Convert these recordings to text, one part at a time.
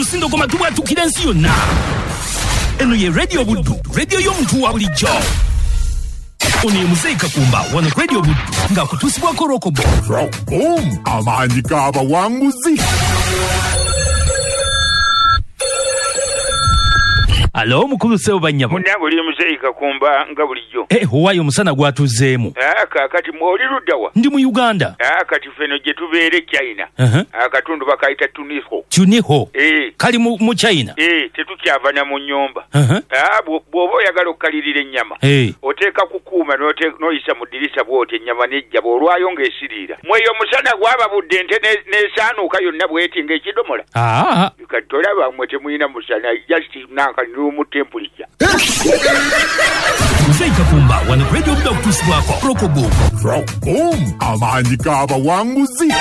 Tusindogoma tubwatukira ensi yonna. Eno ye Radio Buddu, radio y'omuntu wa bulijjo. Ono ye Muzeeyi Kakumba wano ku Radio Buddu ng'akutuusibwako Rokobo. Rockboom, amaanyi g'abawanguzi. Alo mukulu ssebo bannyabo. Munnange oli Muzeeyi Kakumba nga bulijjo. Owaayo omusana gwatuzzeemu. Kaakati mwe oli ludda wa? Ndi mu Uganda. Kati ffeno gye tubeera e China. Akatundu bakayita Tuniho. Tuniho? Kali mu China? Tetukyava na mu nnyumba. Bw'oba oyagala okukalirira ennyama, oteeka ku kuuma n'oyisa mu ddirisa bw'oti ennyama n'ejja bw'olwayo ng'esiriira. Mwe eyo omusana gwababudde ente n'esaanuuka yonna bw'eti ng'ekidomola. Kati tolaba mmwe temulina musana, just nanka room temperature. Muzeeyi Kakumba wano ku Radio Buddu akutuusibwako Rokoboom. Rockboom, amaanyi g'abawanguzi.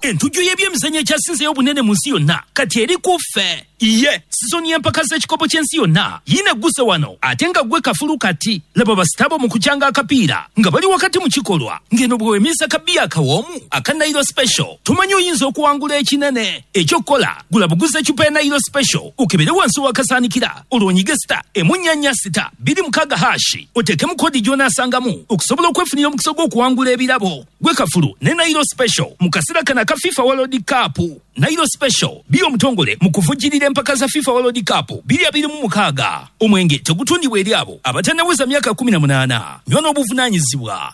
Entujjo y'ebyemizannyo ekyasinzeeyo obunene mu nsi yonna kati eri ku ffe. Ye sizoni y'empaka z'ekikopo ky'ensi yonna yiina egguse wano ate nga ggwe kafulu kati. Laba basitabo mu kukyanga akapiira nga bali wakati mu kikolwa ng'eno bwe weemiisa kabiya akawoomu aka Nairo Special tumanyi oyinza okuwangula ekinene. Eky'okukola gula buguzi eccupa ya Nairo Special okebere wansi w'akasaanikira olwo onyige *446 26# oteekemu kodi gy'onaasangamu okusobola okwefunira omukisa gw'okuwangula ebirabo. Gwe kafulu ne Nairo Special mu kaseera kano aka FIFA World Cup. Nairo Special bi omutongole mu kuvujjirira empaka za FIFA World Cup 2026. Omwenge tegutundibwa eri abo abatannaweza myaka 18. Nywa n'obuvunaanyizibwa.